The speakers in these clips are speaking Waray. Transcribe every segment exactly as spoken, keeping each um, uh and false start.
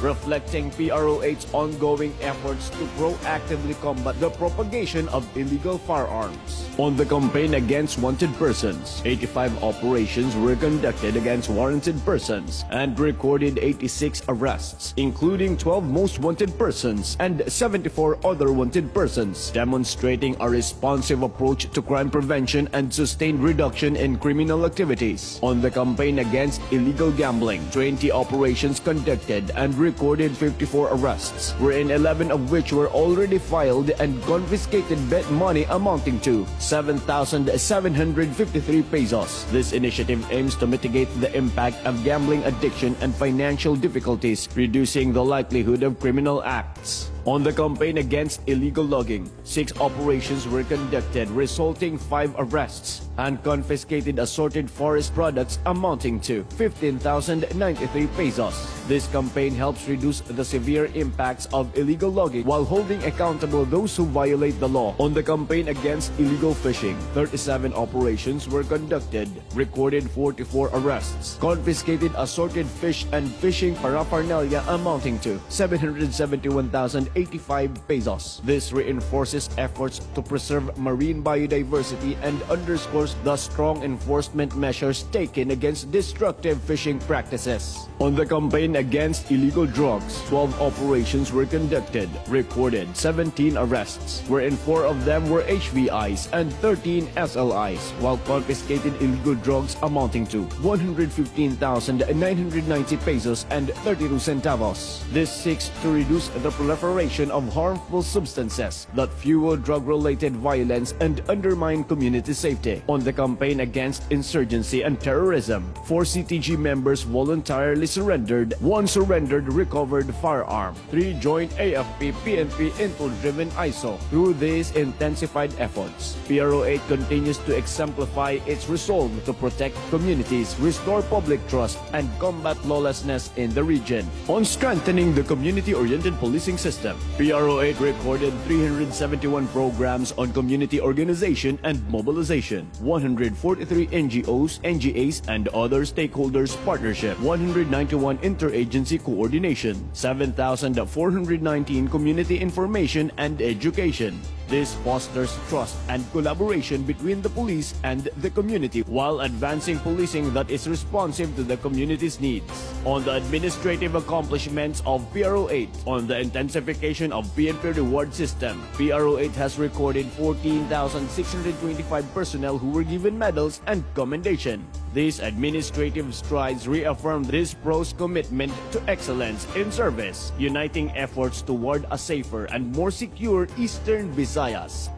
reflecting P R O H's ongoing efforts to proactively combat the propagation of illegal firearms. On the campaign against wanted persons, eighty-five operations were conducted against warranted persons and recorded eighty-six arrests, including twelve most wanted persons and seventy-four other wanted persons, demonstrating a responsive approach to crime prevention and sustained reduction in criminal activities. On the campaign against illegal gambling, twenty operations conducted and recorded fifty-four arrests, wherein eleven of which were already filed, and confiscated bet money amounting to seven thousand seven hundred fifty-three pesos. This initiative aims to mitigate the impact of gambling addiction and financial difficulties, reducing the likelihood of criminal acts. On the campaign against illegal logging, six operations were conducted, resulting five arrests, and confiscated assorted forest products amounting to fifteen thousand ninety-three pesos. This campaign helps reduce the severe impacts of illegal logging while holding accountable those who violate the law. On the campaign against illegal fishing, thirty-seven operations were conducted, recorded forty-four arrests, confiscated assorted fish and fishing paraphernalia amounting to seven hundred seventy-one thousand eighty-five pesos. This reinforces efforts to preserve marine biodiversity and underscores the strong enforcement measures taken against destructive fishing practices. On the campaign against illegal drugs, twelve operations were conducted, recorded seventeen arrests, wherein four of them were H V Is and thirteen S L Is, while confiscated illegal drugs amounting to one hundred fifteen thousand nine hundred ninety pesos and thirty-two centavos. This seeks to reduce the proliferation of harmful substances that fuel drug-related violence and undermine community safety. On the campaign against insurgency and terrorism, four C T G members voluntarily surrendered, one surrendered recovered firearm, three joined A F P P N P intel-driven ISO. Through these intensified efforts, P R O eight continues to exemplify its resolve to protect communities, restore public trust, and combat lawlessness in the region. On strengthening the community-oriented policing system, P R O eight recorded three hundred seventy-one programs on community organization and mobilization, one hundred forty-three N G Os, N G As, and other stakeholders partnership, one hundred ninety-one interagency coordination, seven thousand four hundred nineteen community information and education. This fosters trust and collaboration between the police and the community while advancing policing that is responsive to the community's needs. On the administrative accomplishments of P R O eight, on the intensification of P N P reward system, P R O eight has recorded fourteen thousand six hundred twenty-five personnel who were given medals and commendation. These administrative strides reaffirm this pro's commitment to excellence in service, uniting efforts toward a safer and more secure Eastern Visayas.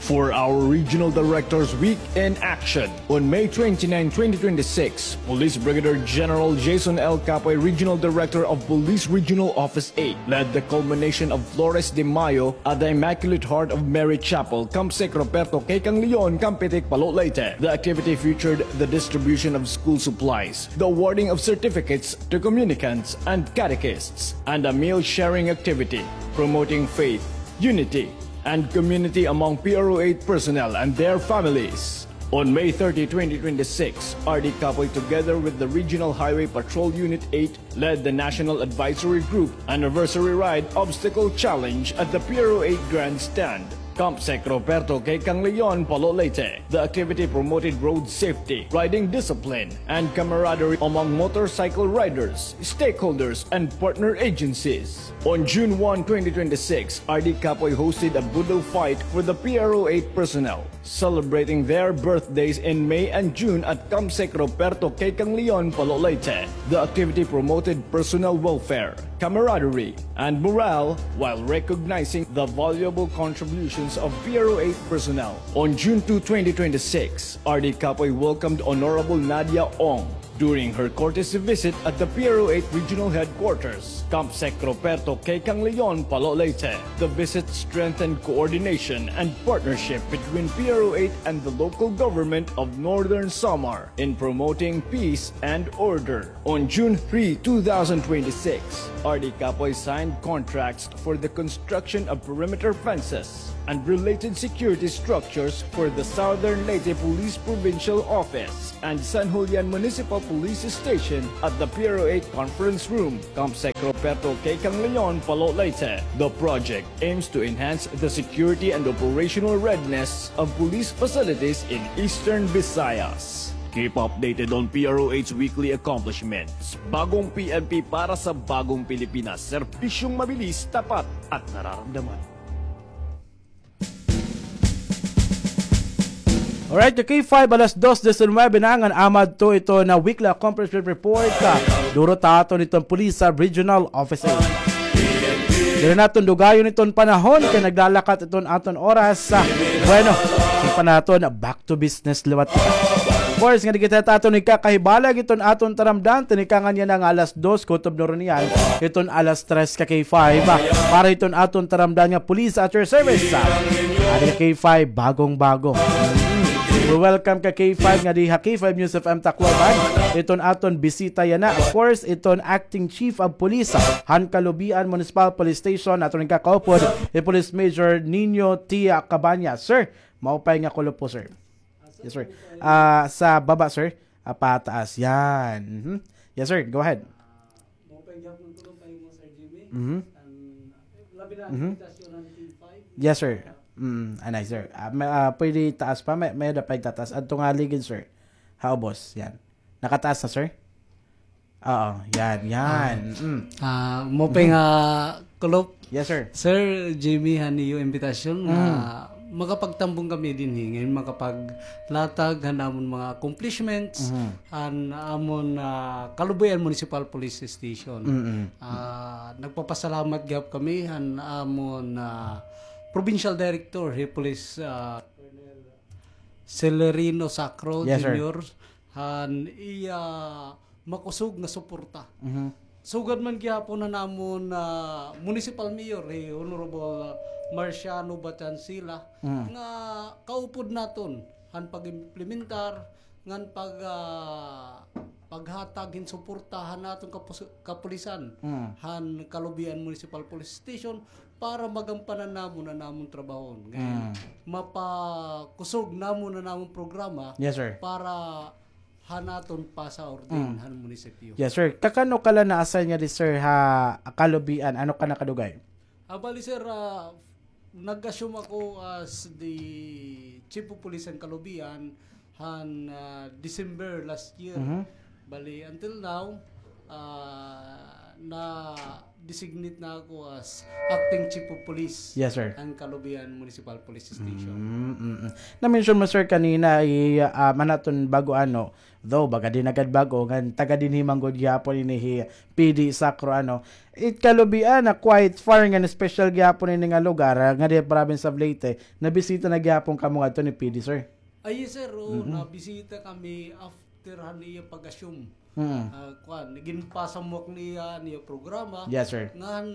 For our Regional Directors Week in action, on May twenty-nine, twenty twenty-six, Police Brigadier General Jason L. Capoy, Regional Director of Police Regional Office eight, led the culmination of Flores de Mayo at the Immaculate Heart of Mary Chapel, Camp Sec Ruperto K. Canglion, Campetic, Palo, Leyte. The activity featured the distribution of school supplies, the awarding of certificates to communicants and catechists, and a meal sharing activity promoting faith, unity, and community among P R O eight personnel and their families. On May thirty, twenty twenty-six, R D Capoy, together with the Regional Highway Patrol Unit eight, led the National Advisory Group Anniversary Ride Obstacle Challenge at the P R O eight Grandstand, Camp Sec Ruperto K. Canglion, Palo, Leyte. The activity promoted road safety, riding discipline, and camaraderie among motorcycle riders, stakeholders, and partner agencies. On June one, twenty twenty-six, R D Capoy hosted a Budo fight for the P R O eight personnel celebrating their birthdays in May and June at Camp Sec Ruperto K. Canglion, Palo, Leyte. The activity promoted personnel welfare, camaraderie, and morale while recognizing the valuable contributions of P R O eight personnel. On June two, twenty twenty-six, R D Capoy welcomed Honorable Nadia Ong during her courtesy visit at the P R O eight Regional Headquarters, Camp Sec Ruperto K. Canglion, Palo, Leyte. The visit strengthened coordination and partnership between P R O eight and the local government of Northern Samar in promoting peace and order. On June three, two thousand twenty-six, R D Capoy signed contracts for the construction of perimeter fences and related security structures for the Southern Leyte Police Provincial Office and San Julian Municipal Police Station at the P R O eight Conference Room, Campsec Ruperto K. Canglion, Palo, Leyte. The project aims to enhance the security and operational readiness of police facilities in Eastern Visayas. Keep updated on P R O H weekly accomplishments. Bagong P N P para sa bagong Pilipinas. Serbisyong mabilis, tapat, at nararamdaman. Alright, ka K five, alas dos disinuybe na ngan amadto ito na weekly accomplishment report, ah, duro ta aton iton Police, ah, Regional Office. Diri naton dugayon iton panahon kay naglalakat iton aton oras, ah. Bueno, siring pa naton, back to business liwat kita. Of course, nga di kita aton ikakahibalag iton aton taramdan, tinikangan niya na nga alas dos, kutob na run niyan, iton alas tres ka K five, ah, para iton aton taramdan nga Police at your service, ah. Adi ka K five, bagong-bago. We welcome ka K five nga di ha K five News F M Tacloban, iton aton bisita yana. Of course, iton Acting Chief of Police, ah, han Calubian Municipal Police Station, aton kakaupod, hi Police Major Nino T. Cabañas. Sir, maupay nga kulop po, sir. Yes, sir. Ah, sa baba, sir. Ah, pataas. Yan. Mhm. Yes, sir. Go ahead. Maupay gihapon kulop, Sir Jimmy. Mhm. An labi na an imbitasyon han K five. Yes, sir. Mm, anay, sir. Ah, may, ah, pwede taas pa, may, may-ada pa igtataas. Adto nga ligid, sir. Ha ubos, yan. Nakataas na, sir? Oo, yan, yan. Ah, mm. Ah, maupay nga kulop. Yes, sir. Sir Jimmy, han iyo imbitasyon nga makapagtambong kami dinhi, ngan makapaglatag han amon mga accomplishments, han amon, ah, Calubian Municipal Police Station. Mm-mm. Ah, nagpapasalamat gihap kami han amon, ah, Provincial Director, hi Police, ah, Celerino Sacro Junior, han iya makusog nga suporta. Sugad man gihapon han amon, ah, Municipal Mayor, hi Honorable, ah, Marciano Batancila, nga kaupod naton han pag-implementar ngan pag, ah, paghatag hin suporta han aton kapus-, kapulisan han Calubian Municipal Police Station para magampanan namon an amon trabahon. Ngan mapakusog namon an amon programa para han aton PASA Orden han munisipyo. Yes, sir. Kakano ka la na-assign ngadi, sir, ha Calubian? Ano ka nakadugay? Ah, bali, sir, ah, nag-assume ako as the chief of police han Calubian han, ah, December last year. Bali, until now, ah, na-designate na ako as acting chief of police han Calubian Municipal Police Station. Mm, mm, mm. Na-mention mo, sir, kanina, i-, ah, man aton bag-o ano, though, baga di na gad bag-o, ngan taga dinhi man gud gihapon ini hi P D Sacro, ano. It Calubian, ah, quite far ngan special gihapon ini nga lugar, ah, ngadi province of Leyte, nabisita na gihapon kamo ngadto ni P D, sir? Ay, yes, sir. Oo, nabisita kami after han iya pag-assume. Ah, kuan, ginpasamwak niya an iya programa. Yes, sir. Ngan,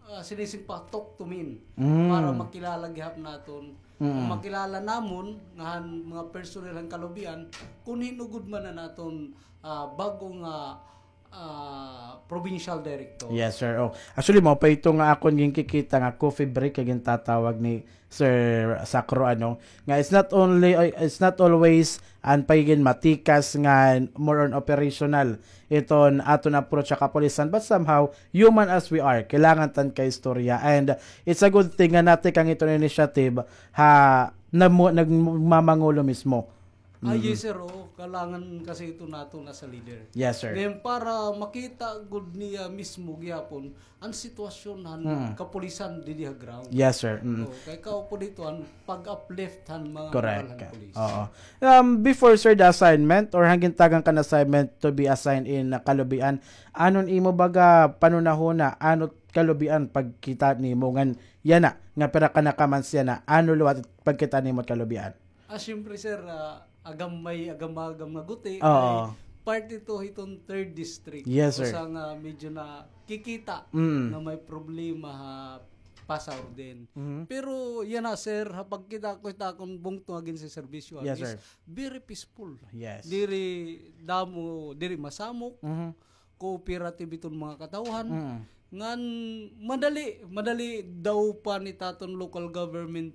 ah, sinising pa, talk to me para makilala gihap naton. Makilala namon nga han mga personnel han Calubian, kun hin-o gud man an aton, ah, bag-o nga, ah, provincial director. Yes, sir. Oh, actually, mao pa ito nga akon ginkikita nga coffee break nga gintatawag ni Sir Sacro, ano, nga it's not only, uh, it's not always an pagigin matikas nga more on operational iton aton approach sa kapulisan, but somehow, human as we are, kailangan tan kaistorya. And it's a good thing nga natikang iton initiative ha, namo-, nagmamangulo mismo. Ah, yes, sir. Oo, kailangan kasi ito naton as a leader. Yes, sir. Then, para makita gud niya mismo gihapon an sitwasyon han kapulisan didi ha ground. Yes, sir. Mm. Oo, kay kaupod ito an pag-uplift han mga moral han police. Oo. Um, before, sir, the assignment or han gintagan ka nga assignment to be assigned in, uh, Calubian, ano an imo baga panhunahuna, ano Calubian pagkita nimo ngan yana, nga pira ka na ka months yana, ano liwat pagkita nimo Calubian? Ah, siyempre, sir, ah, agam may agam-agam nga guti. Oo. Kay part ito hiton third district. Yes, sir. Usa nga medyo nakikita nga may problema ha PASA Orden. Pero yana, sir, ha pagkita ko hit akon bungto nga ginseserbisyohan is very peaceful. Yes. Diri damo, diri masamok. Cooperative iton mga katawhan. Ngan madali, madali daw pa ni taton local government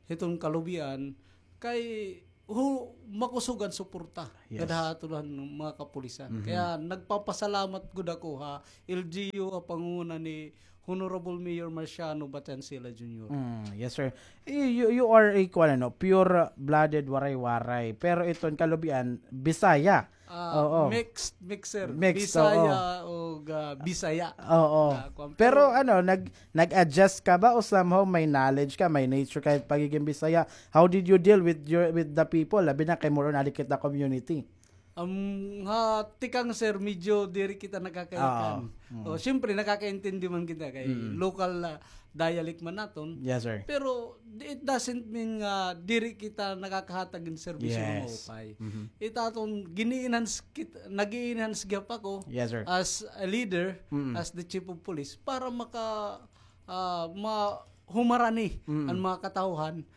hiton Calubian kay hu-, makusog an suporta Yes. kada ha aton mga kapulisan. Mhm. Kaya nagpapasalamat gud ako ha L G U, ha panguna ni Honorable Mayor Marciano Batancila Junior. Mm, yes, sir. You, you, you are a, kuan, ano, pure-blooded Waray-Waray. Pero iton kalubian, Bisaya. Ah, Oo. mixed, mixer. Mixed, Bisaya oo. o, ah, Bisaya. Oo. Ah, kuan, Pero pero ano, nag, nag-adjust ka ba o somehow may knowledge ka, may nature ka pagiging Bisaya? How did you deal with your, with the people? Labi na kay more on adi kita community. Um, ha tikang, sir, medyo diri kita nakakaikan. Oo. Mm. O, siyempre, nakakaintindi man kita kay Mm. local, ah, dialect man naton. Yes, sir. Pero di-, it doesn't mean nga diri kita nakakahatag hin serbisyo nga Yes. maupay. Mhm. It aton gini-enhance kit-, nag-i-enhance gihap ako Yes, sir. as a leader, Mm. as the chief of police, para maka, ah, ma-, humarani Mm. an mga katawhan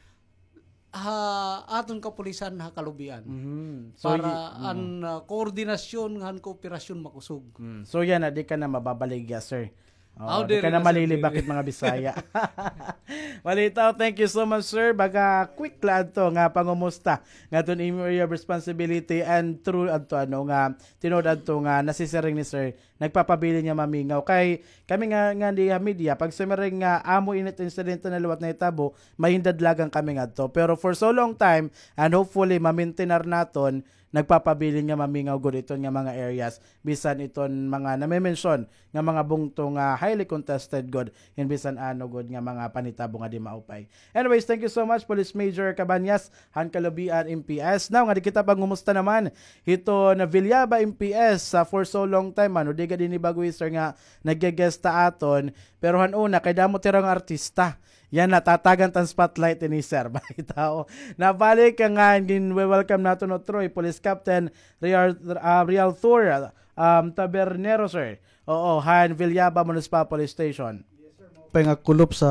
ha aton kapulisan ha kalubian. Mhm. So, para y-, mm. an, ah, koordinasyon ngan kooperasyon makusog. Mm. So, yana, di ka na mababaligya, sir. Oo, Aw, di diri ka na na, sir, malilibak diri. It mga Bisaya. Malitaw, thank you so much, sir. Baga quick la adto nga pangumusta nga aton imo area of responsibility and through adto, ano, nga tinuod adto nga nasisiring ni sir, nagpapabilin nga mamingaw. Kay kami nga, nga di ha media, pag sumiring nga amo ini it insidente na liwat nahitabo, mahindadlagan kami ngadto. Pero for so long time, and hopefully, mamintinar naton, nagpapabilin nga mamingaw gud iton nga mga areas, bisan iton mga name-mention nga mga bungto nga highly contested gud, hin bisan ano gud nga mga panitabo nga di maupay. Anyways, thank you so much, Police Major Cabañas, han Calubian M P S. Now, nga di kita pangumusta naman, hito na Villaba M P S, ah, for so long time, ano, di gad ini bag-o, sir, nga nagge-guest ha aton, pero han una, kay damo tira nga artista. Yana, tatagan ta hin spotlight ini, sir. Balitaw. Nabalik ka nga, gin-welcome naton utro, Police Captain Real, ah, Real Thor, um, Tabernero, sir. Oo, han Villaba Municipal Police Station. Pay nga kulop sa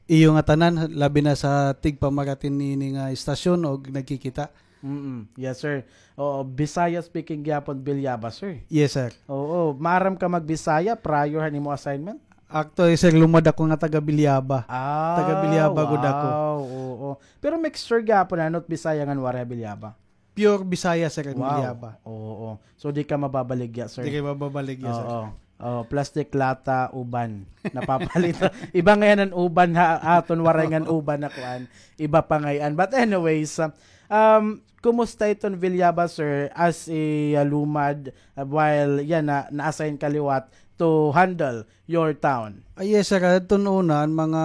iyo nga tanan, labi na sa tigpamaratin niini nga istasyon o nagkikita. Mm-mm. Yes, sir. Oo, Bisaya speaking gihapon, Villaba, sir. Yes, sir. Oo, maaram ka mag-Bisaya prior han imo assignment? Actually, sir, lumad ako nga taga Villaba. Ah, Taga Villaba gud ako. Wow, oo. Pero mixture gihapon, ano, it Bisaya ngan waray ha Villaba? Pure Bisaya, sir, an Wow. Villaba. Oo. So, di ka mababaligya, sir? Di ka mababaligya, sir. Oo. Oh, plastic lata, uban. Napapalit. Iba ngay-an an uban ha, aton waray ngan uban na kuan. Iba pa ngay-an. But anyways, um, kumusta iton Villaba, sir, as a, uh, lumad, uh, while yana, na-assign ka liwat to handle your town? Ah, yes, sir. Adton una, an mga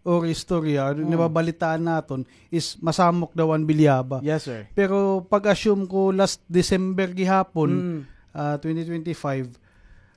or istorya, Mm. nababalitaan naton is masamok daw an Villaba. Yes, sir. Pero pag-assume ko last December gihapon, Mm. ah, twenty twenty-five,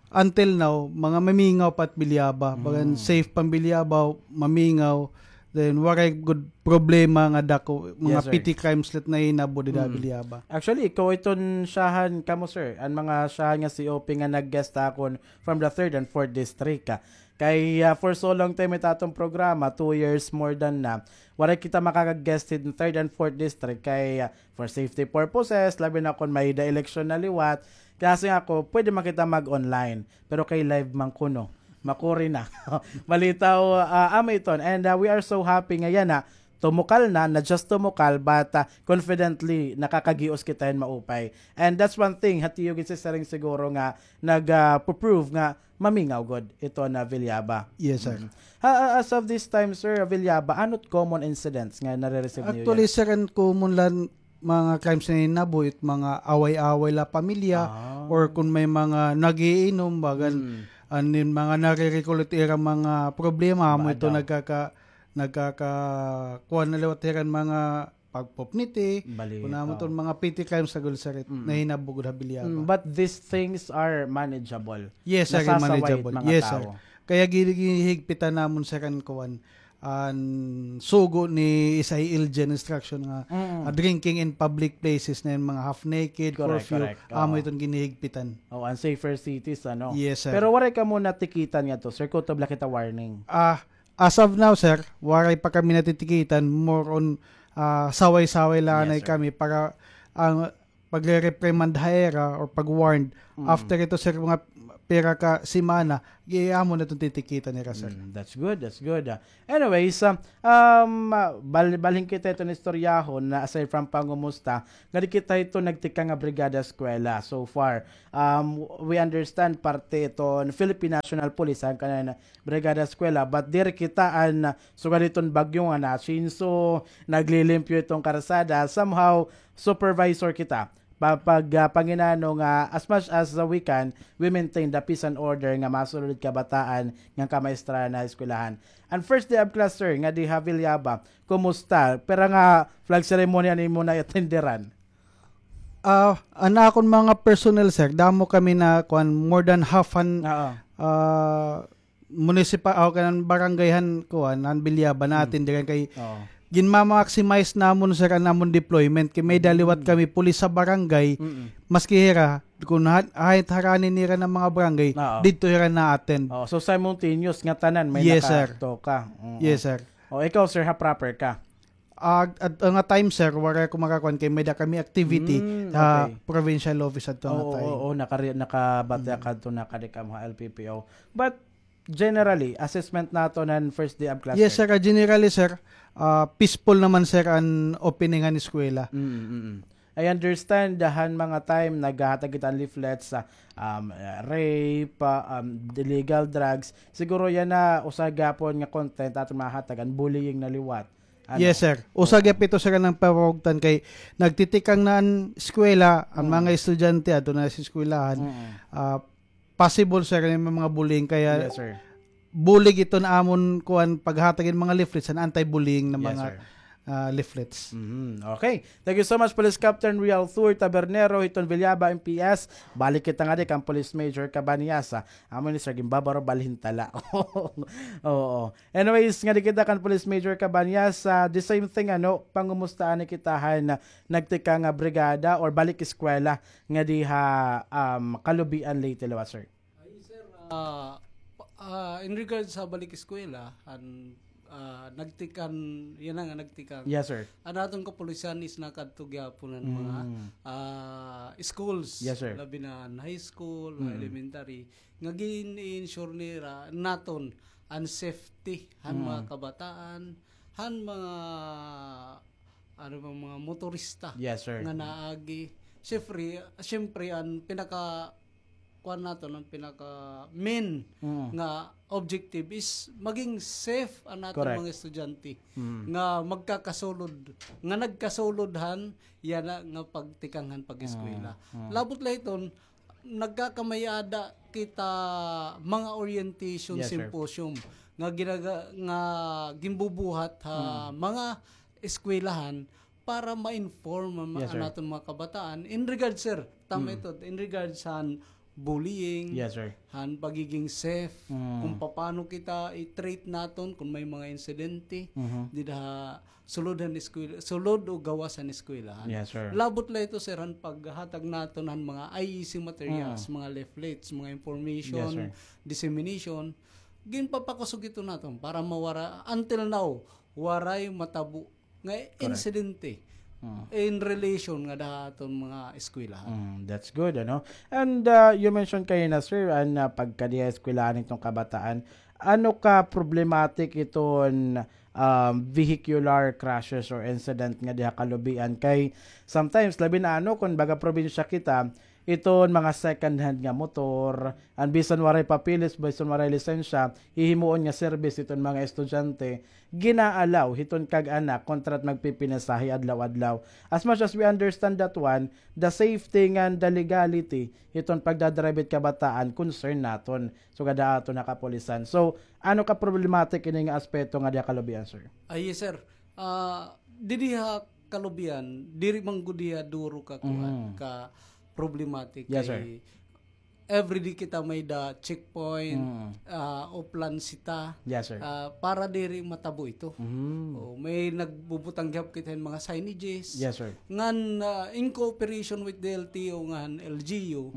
until now, mga mamingaw pa it Villaba. Bagan Mm. safe pa an Villaba, mamingaw. Then, waray gud problema nga dako, mga Yes, sir. petty crimes la it nahinabo dida Mm. Villaba. Actually, ikaw iton syahan kamo, sir. An mga syahan nga C O P nga nag-guest ha akon from the third and fourth district, ah. Kay, ah, for so long time it aton programa, two years more than na, waray kita makaka-guest hin third and fourth district kay, ah, for safety purposes, labi na kon may-ada eleksyon na liwat. Kay siring ako, pwede man kita mag-online, pero kay live man kuno, makuri na. Balitaw, ah, amo iton. And, ah, we are so happy nga yana, tumukal na, not just tumukal, but, ah, confidently, nakakagios kita hin maupay. And that's one thing, ha tiyo gin-siring siguro nga nag, ah, pu-prove nga mamingaw gud iton Villaba. Yes, sir. Mm. Ha, ah, as of this time, sir, Villaba, ano it common incidents nga nare-receive niyo yana? Actually, sir, an common la nga mga crimes nga nahinabo, it mga away-away la pamilya, Ah. or kon may mga nag-iinom, bagan, Mm. an mga nare-recall it ira mga problema, amo Bad ito daw. nagkaka-, nagkaka-, kuan na liwat hira hin mga pagpupniti, Bali, kun amo oh. iton mga petty crimes na gud, sir, it Mm. nahinabo gud ha Villaba. Mm, but these things are manageable. Yes, sir, Nasasaway manageable. it mga Yes, sir. tao. Kaya gi-, ginhihigpitan namon, sir, an kuan, an sugo ni S I L G an instruction nga, Mm. ah, drinking in public places na hin mga half naked, Correct, curfew, correct. amo Oo. iton ginhihigpitan. Oh, an safer cities, ano? Yes, sir. Pero waray kamo natikitan ngadto, sir, kutob la kita warning. Ah, As of now, sir, waray pa kami natitikitan, more on, ah, saway-saway la anay Yes, sir. kami para, ah, pagre-reprimand ha ira or pag-warned. Mm. After ito, sir, mga pira ka semana, gi-, amo na iton titikitan nira, sir. Mm, that's good, that's good, ah. Anyways, ah, um, ah, bal-, balhin kita iton istoryahon na aside from pangumusta, ngadi kita ito nagtikang nga Brigada Eskwela so far. Um, we understand parte iton Philippine National Police, an kanan Brigada Eskwela, but diri kita an sugad hiton bagyo nga na-change, so naglilimpyo iton karsada, somehow supervisor kita. Pa-, pag, ah, panginano nga as much as, ah, we can, we maintain the peace and order nga masulod kabataan nga kamaestra na eskwelahan. An first day of class, sir, nga diha Villaba, kumusta? Pira nga flag ceremony an imo na-attenderan? Ah, an akon mga personnel, sir, damo kami na, kuan, more than half an, Oo. ah, municipal, o kanan barangay han, kuan, han Villaba na-attenderan kay ginma-maximize namon, sir, an amon deployment kay may-ada liwat kami pulis sa barangay, maski hira, kun ha-, kahit harani nira an mga barangay, didto hira na-attend. Oo, so simultaneous nga tanan may nakaadto ka. Yes, sir. Mm. Yes, sir. O, ikaw, sir, ha proper ka? Ah, adto nga time, sir, waray ako makakuan kay may-ada kami activity ha provincial office adto nga time. Oo, oo, nakari-, nakabati ka adto, nakadi kamo ha L P P O. But generally, assessment naton han first day of class, sir? Yes, sir. Ah, generally, sir, ah, peaceful naman, sir, an opening han eskwela. Mm, mm, mm. I understand, ah, han mga time naghahatag kita hin leaflets sa, um, ah, rape, ah, um, illegal drugs. Siguro yana usa gihapon nga content aton mahatag, an bullying na liwat. Ano? Yes, sir. Usa gihap ito, sir, nga pamangugtan kay nagtitikang na an eskwela, an mga estudyante adto na sa eskwelahan. Mm. Ah, possible, sir, nga may mga bullying kaya bulig iton amon kuan paghatag hin mga leaflets, an anti-bullying na mga, ah, leaflets. Mhm. Okay. Thank you so much, Police Captain Real Thur Tabernero, hiton Villaba M P S. Balik kita ngadi kan Police Major Cabaniasa. Amo ni, sir, ginbabaro balhin tala. Oo. Anyways, ngadi kita kan Police Major Cabaniasa, the same thing, ano, pangumusta anay kita han nagtikang nga brigada or balik eskwela ngadi ha, um, Calubian, Leyte, liwat, sir? Ay, sir, ah, pa-, ah, in regards sa balik eskwela, an, ah, nagtikang, yana nga nagtikang. Yes, sir. An aton kapulisan is nakadto gihapon han mga, ah, schools. Yes, sir. Labi na an high school, elementary. Nga gin-ensure nira naton an safety han mga kabataan, han mga ano ba, mga motorista nga naagi. Siyempre, siyempre, an pinaka, kuan naton, an pinaka main nga objective is maging safe an aton mga estudyante nga magkakasulod, nga nagkasulod han yana nga pagtikang han pag-eskwela. Labot la hiton, nagkakamay-ada kita mga orientation symposium nga ginaga-, nga ginbubuhat ha mga eskwelahan para ma-inform an, an aton mga kabataan in regards, sir, tama ito, in regards han bullying, han pagiging safe, kung papaano kita i-treat naton kung may mga insidente dida ha sulod han eskwela, sulod o gawas han eskwelahan. Yes, sir. Labot la ito, sir, han paghatag naton han mga I E C materials, mga leaflets, mga information, dissemination. Ginpapakusog ito naton para mawara, until now, waray matabo nga insidente in relation ngada ha aton mga eskwelahan. Mm, that's good, ano? And, uh, you mentioned kanina, sir, an, uh, pagkadi ha eskwelahan hiton kabataan. Ano ka problematic iton, um, vehicular crashes or incident ngadi ha Calubian? Kay sometimes, labi na, ano, kun baga probinsya kita, iton mga second hand nga motor, an bisan waray papeles, bisan waray lisensya, hihimuon nga service iton mga estudyante, gina-allow hiton kag-anak kontra it magpipinasahe adlaw-adlaw. As much as we understand that one, the safety ngan the legality hiton pagdadrive it kabataan, concern naton. So, kada aton ha kapulisan. So, ano ka problematic ini nga aspeto ngadi ha Calubian, sir? Ah, yes, sir. Ah, didi ha Calubian, diri man gud hiya duro ka kuan, ka problematic. Yes, sir. Kay everyday kita may-ada checkpoint, ah, Oplan Cita. Yes, sir. Ah, para diri matabo ito. Mm. O, may nagbubutang gihap kita hin mga signages. Yes, sir. Ngan, ah, in cooperation with the L T O ngan L G U,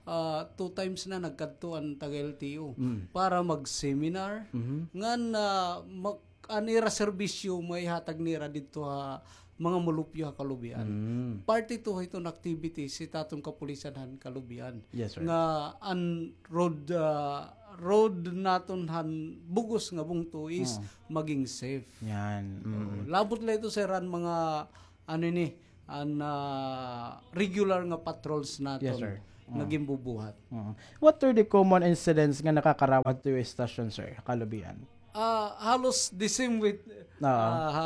ah, two times na nagkadto an taga-L T O para mag-seminar. Ngan, ah, mag-, an ira serbisyo maihatag nira didto ha mga mulupyo ha kalubian. Mm. Parte ito hiton activities hit aton kapulisan han kalubian. Yes, sir. Nga an road, ah, road naton han bug-os nga bungto is Mm. maging safe. Yan. Mm. Oo. Labot la ito, sir, an mga, ano ini, an, ah, regular nga patrols naton Yes, sir. nga Mm. ginbubuhat. Mm. What are the common incidents nga nakakarawat to your station, sir, ha kalubian? Ah, halos the same with, Oo. ah, ha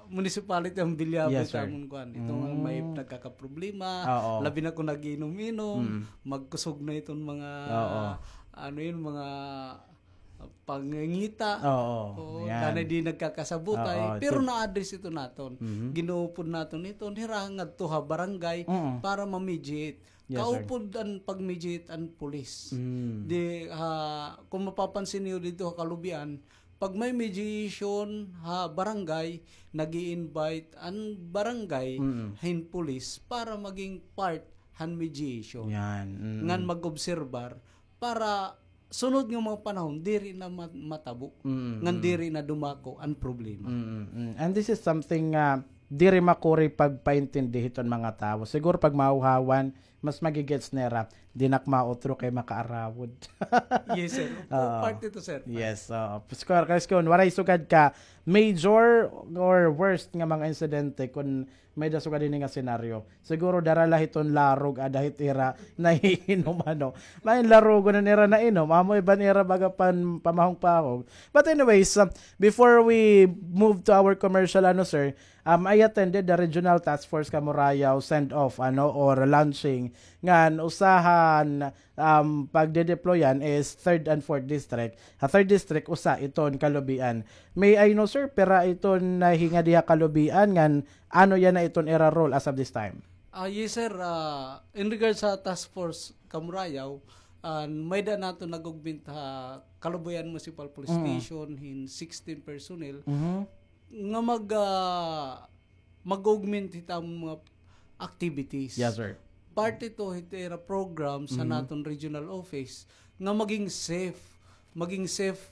municipality han Villabe Yes, sir. Amon kuan. Ito nga may Mm. nagkakaproblema, Oo. labi na kon nag-iinom-inom, Mm. magkusog na iton mga, Oo. ano yun, mga pangangita. Oo, Oo, yan. Danay di nagkakasabutay. Oo, Pero ito na-address ito naton. Mhm. Ginuupod naton ito, hira ngadto ha barangay Mm. para ma-mediate. Yes, sir. Kaupod an pag-mediate an pulis. Mm. Di, ha, kung mapapansin niyo dito ha kalubian, pag may mediation ha barangay, nag-i-invite an barangay Mm. hin pulis para maging part han mediation. Yan, mm. Ngan mag-obserbar para sunod nga mga panahon, diri na ma-, matabo. Mm, Ngan mm. diri na dumako an problema. Mm, mm. And this is something nga diri makuri pagpaintindi hiton mga tawo. Siguro pag mahuhawan, mas magigets nira, di na ak mautro kay makaarawod. Yes, sir. Opo, Oo. part ito, sir. Part. Yes, oo. Square, kay kun waray sugad ka major or worst nga mga insidente, kun may-ada sugad ini nga senaryo. Siguro dara la hiton larog, ada hit ira nahihinom, ano. May larugon na nira nainom, amo iban ira baga pan-, pamahong-pahong. But anyways, um, before we move to our commercial, ano, sir, Um, I attended the Regional Task Force Camorayao send-off, ano, or launching. Ngan usa han, um, pagde-deployan is third and fourth district. Ha third district, usa iton kalubian. May I know, sir, pira iton nahinga diha kalubian, ngan ano yana iton ira role as of this time? Ah, yes, sir. Ah, in regards sa Task Force Camorayao, ah, may-ada naton nag-augment ha Kalubian Municipal Police Mm. Station hin sixteen personnel. Mhm. nga mag, ah, mag-augment hit amon mga activities. Yes, sir. Parte ito hit ira program sa Mm. naton regional office nga maging safe, maging safe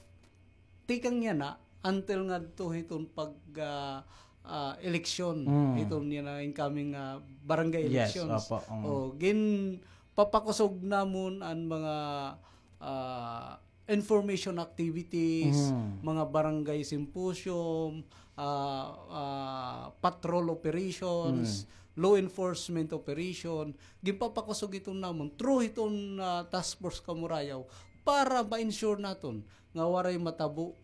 tikang yana until ngadto hiton pag, ah, ah, election, Mm. hiton yana incoming, ah, barangay Yes, elections. opo, mm. O, ginpapakusog namon an mga, ah, information activities, Mm. mga barangay symposium, ah, ah, patrol operations, Mm. law enforcement operation, ginpapakusog iton namon through hiton, ah, Task Force Camorayao para ma-ensure naton nga waray matabo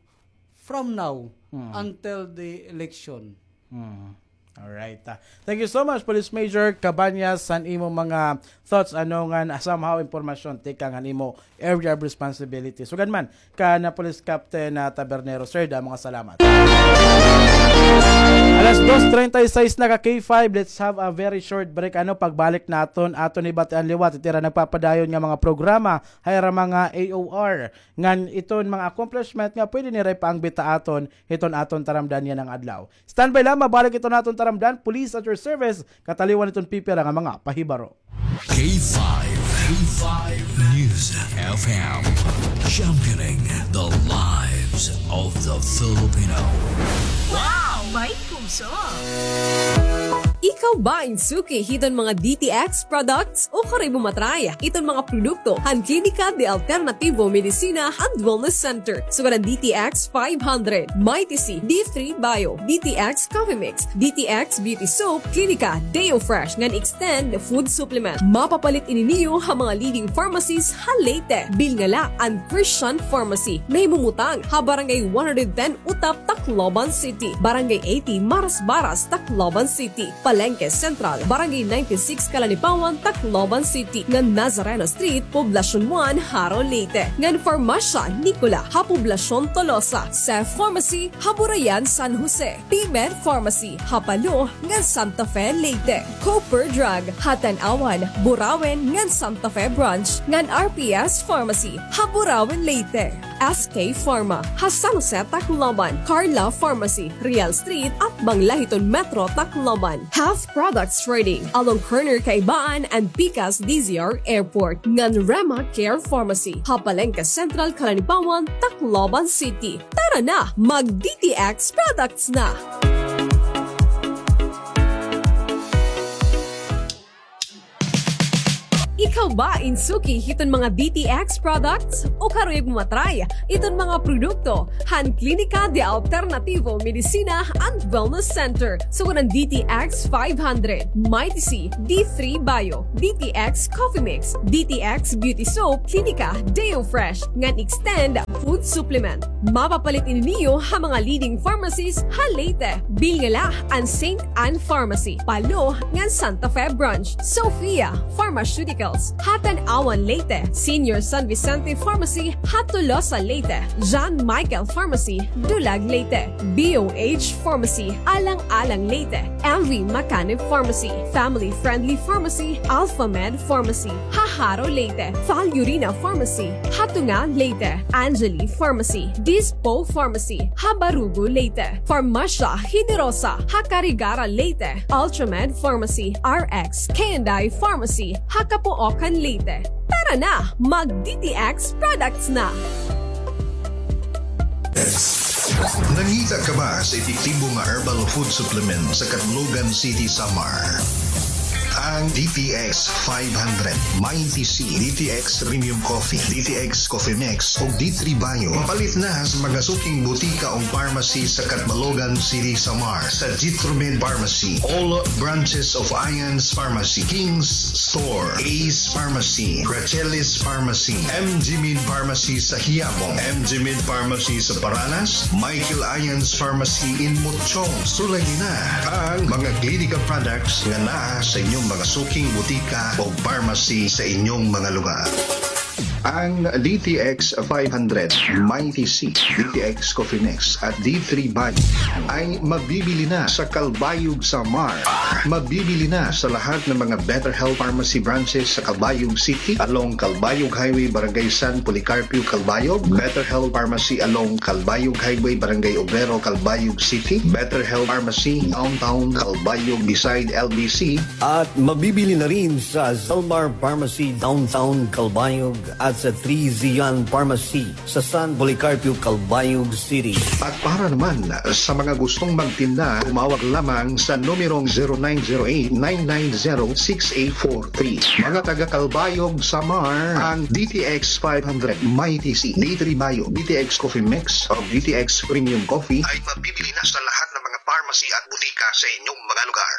from now Mm. until the election. Hmm. Alright, ah. Thank you so much, Police Major Cabañas, han imo mga thoughts, ano, ngan somehow impormasyon tikang han imo area of responsibility. Sugad man kan Police Captain, ah, Tabernero. Sir, damo nga salamat. Alas dos treinta y seis na ka K five. Let's have a very short break. Ano, pagbalik naton, aton hibatian liwat it ira nagpapadayon nga mga programa ha ira mga A O R. Ngan iton mga accomplishment nga pwede nira ipaangbit ha aton hiton aton taramdan yana nga adlaw. Standby la, mabalik iton aton taramdan, Police at your service, kataliwan hiton pipira nga mga pahibaro. K five, K five News F M, championing the lives of the Filipino. Wow! May puso! Ikaw ba in suki hiton mga D T X products? Ukon imo matry iton mga produkto han Klinika de Alternativo Medicina and Wellness Center. Sugad an D T X five hundred, Mighty C, D three Bio, D T X Coffee Mix, D T X Beauty Soap, Klinika, Deo Fresh, ngan Extend Food Supplement. Mapapalit ini niyo ha mga leading pharmacies ha Leyte. Bilnga la an Christian Pharmacy. Nahimumutang ha Barangay one hundred ten Utap, Tacloban City, Barangay eighty Marasbaras, Tacloban City, Palengke Central, Barangay ninety-six Calanipawan, Tacloban City, ngan Nazareno Street, Poblacion one, Jaro, Leyte, ngan Farmacia Nicola ha Poblacion Tolosa, Seth Pharmacy ha Burayan, San Jose, P-Med Pharmacy ha Palo ngan Santa Fe, Leyte, Cooper Drug ha Tanauan, Burauen ngan Santa Fe Branch, ngan R P S Pharmacy ha Burauen, Leyte. S K Pharma ha San Jose, Tacloban, Carla Pharmacy, Real Street, atbang la hiton Metro Tacloban, Half Products Trading along corner Kaibaan and Pikas D Z R Airport, ngan Rema Care Pharmacy ha Palengke Central, Calanipawan, Tacloban City. Tara na, mag D T X products na! Ba in suki hiton mga D T X products? O karuyag mo matry iton mga produkto han Klinika de Alternativo Medicina and Wellness Center. Sugad han D T X five hundred, Mighty C, D three Bio, D T X Coffee Mix, D T X Beauty Soap, Klinika Deo Fresh, ngan Extend Food Supplement. Mapapalit ini niyo ha mga leading pharmacies ha Leyte. Bilin la an Saint Ann Pharmacy, Palo, ngan Santa Fe Branch, Sofia Pharmaceuticals, ha Tanauan, Leyte, Senior San Vicente Pharmacy, ha Tolosa, Leyte, John Michael Pharmacy, Dulag, Leyte, B O H Pharmacy, Alang-alang, Leyte, M V Macanib Pharmacy, Family Friendly Pharmacy, Alpha Med Pharmacy, ha Jaro, Leyte, Fal Urina Pharmacy, ha Tunga, Leyte, Angeli Pharmacy, Dispo Pharmacy, ha Barugo, Leyte, Farmasya Generosa, ha Carigara, Leyte, Ultramed Pharmacy, R X K and I Pharmacy, ha Capoocan, Leyte. Tara na, mag D T X products na! Nangita ka ba sa epektibo nga herbal food supplement sa Catlogan City, Samar? Ang D T X five hundred, Mighty C, D T X Premium Coffee, D T X Coffee Mix, ug D three Bio. Mapalit na sa mga suking butika ug pharmacy sa Catbalogan City, Samar, sa Jitromed Pharmacy, all branches of Ions Pharmacy, King's Store, Ace Pharmacy, Rachelis Pharmacy, M G Med Pharmacy sa Quiapo, M G Med Pharmacy sa Paranas, Michael Ions Pharmacy in Mochong. Sulayi na ang mga Klinika products nga naa sa inyong mga suking butika o pharmacy sa inyong mga lugar. Ang D T X five hundred, Mighty C, D T X Coffee Mix, at D three Bio ay mabibili na sa Calbayog, Samar. Mabibili na sa lahat ng mga Better Health Pharmacy branches sa Calbayog City, along Calbayog Highway, Barangay San Policarpio, Calbayog, Better Health Pharmacy along Calbayog Highway, Barangay Obrero, Calbayog City, Better Health Pharmacy, Downtown Calbayog, beside L B C, at mabibili na rin sa Zalmar Pharmacy, Downtown Calbayog, at sa Three Zion Pharmacy sa San Policarpio, Calbayog City. At para naman sa mga gustong magtinda, tumawag lamang sa numerong zero nine zero eight nine nine zero six eight four three. Mga taga Calbayog, Samar, ang D T X five hundred, Mighty C, D three Bio, D T X Coffee Mix, o D T X Premium Coffee ay mabibili na sa lahat ng mga pharmacy at butika sa inyong mga lugar.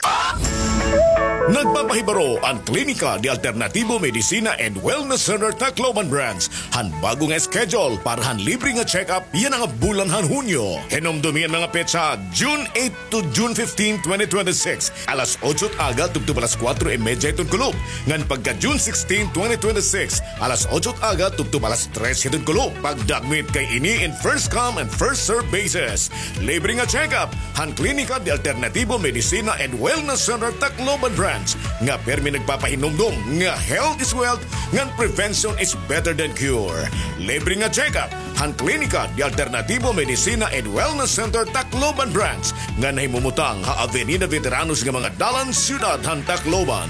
Nagpapahibaro an Klinika de Alternativo Medicina and Wellness Center Tacloban Branch han bago nga schedule para han libre nga check-up yana nga bulan han Hunyo. Hinumdumi an mga petsa, June eight to June fifteen, twenty twenty-six, alas otso it aga tubtob alas kuwatro y medya hiton kulop, ngan pagka June sixteen, twenty twenty-six, alas otso it aga tubtob alas tres hiton kulop. Pagdakmit kay ini in first come and first serve basis. Libre nga check-up han Klinika de Alternativo Medicina and Wellness Center Tacloban Branch nga pirmi nagpapahinumdom nga health is wealth ngan prevention is better than cure. Libre nga check-up han Klinika de Alternativo Medicina and Wellness Center Tacloban Branch nga nahimumutang ha Avenida Veteranos nga mga dalan, siyudad han Tacloban.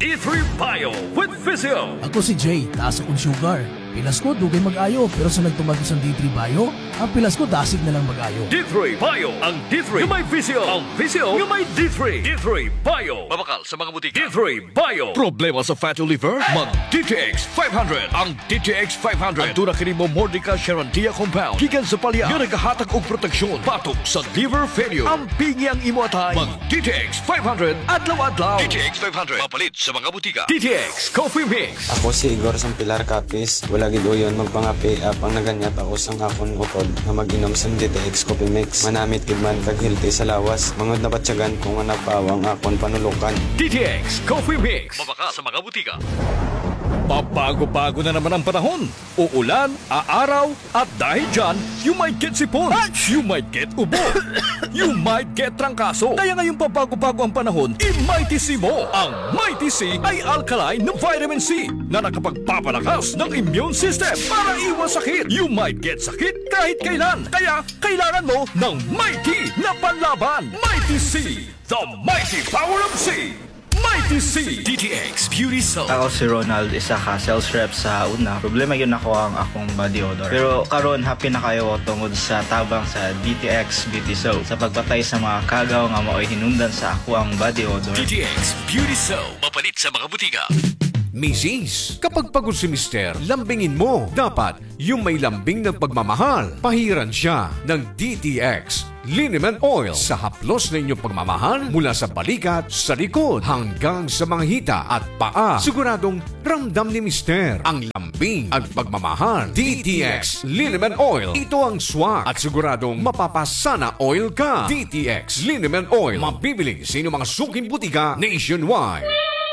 D three Bio with Physio. Ako si Jay, taas akon sugar. Pilas ko, dugay mag-ayo, pero sa nagtumagos an D three Bio, an pilas ko dasig na lang mag-ayo. D three Bio, ang D three nga may Physio, ang Physio nga may D three. D three Bio. Mabakal sa mga butika. D three Bio. Problema sa fatty liver? Mag D T X five hundred. Ang D T X five hundred. Aduna kini Momordica charantia compound gikan sa palya nga nagahatag og proteksyon batok sa liver failure. Ampingi ang imo atay. Mag D T X five hundred adlaw-adlaw. D T X five hundred. Mapalit sa mga butika. D T X Coffee Mix. Ako si Igor Sampilar Capiz. Wala gid uyon magpangape, apang naganyat ako sang akon utod nga mag-inom sang D T X Coffee Mix. Manamit gid man kag healthy sa lawas. Mangud nabatyagan ko nga napawa ang akon panulokan. D T X Coffee Mix. Mabakal sa mga butika. Pabago-bago na naman ang panahon. Uulan, aaraw, at dahil dyan, you might get sipon, you might get ubo, you might get trangkaso. Kaya ngayong pabago-bago ang panahon, i-Mighty C mo. Ang Mighty C ay alkaline na vitamin C na nakapagpapalakas ng immune system para iwas sakit. You might get sakit kahit kailan. Kaya kailangan mo ng Mighty na panlaban. Mighty C, the mighty power of C. Mighty C, D T X Beauty Soap. Ako si Ronald, isa ka sales rep sa una. Problema gyud nako ang akong body odor. Pero karon, happy na kaayo tungod sa tabang sa D T X Beauty Soap sa pagpatay sa mga kagaw nga maoy hinungdan sa akoang body odor. D T X Beauty Soap. Mapalit sa mga butika. Misis, kapag pagod si Mister, lambingin mo. Dapat, yung may lambing ng pagmamahal. Pahiran siya ng D T X Liniment Oil sa haplos na inyong pagmamahal mula sa balikat, sa likod, hanggang sa mga hita at paa. Siguradong ramdam ni Mister ang lambing at pagmamahal. D T X Liniment Oil. Ito ang swak at siguradong mapapasana oil ka. D T X Liniment Oil. Mabibili sa inyong mga suking butika nationwide.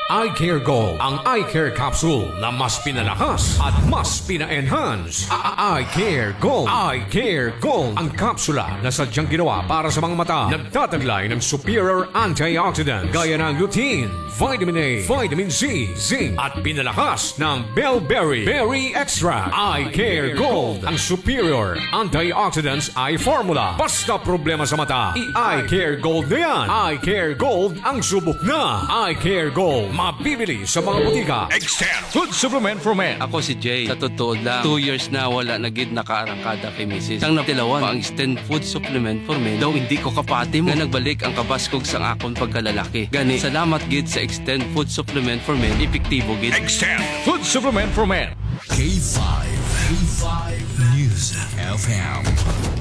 Eye Care Gold, ang eye care capsule na mas pinalakas at mas pina-enhance. A-, a-, Eye Care Gold. Eye Care Gold, ang kapsula na sadyang ginawa para sa mga mata. Nagtataglay ng superior antioxidants gaya ng lutein, vitamin A, vitamin C, zinc, at pinalakas ng Bellberry Berry Extract. Eye Care Gold, ang superior antioxidants eye formula. Basta problema sa mata, i-Eye Care Gold na yan. Eye Care Gold ang subok na. Eye Care Gold, mabibili sa mga butika. Extend Food Supplement for Men. Ako si Jay. Sa totoo lang, two years na wala na gid nakaarangkada kay misis. Sang natilawan pa ang Extend Food Supplement for Men, daw hindi ko kapati mo nga nagbalik ang kabaskog sang akon pagkalalaki. Gani, salamat gid sa Extend Food Supplement for Men, epektibo gid. Extend Food Supplement for Men. K five, K five News F M,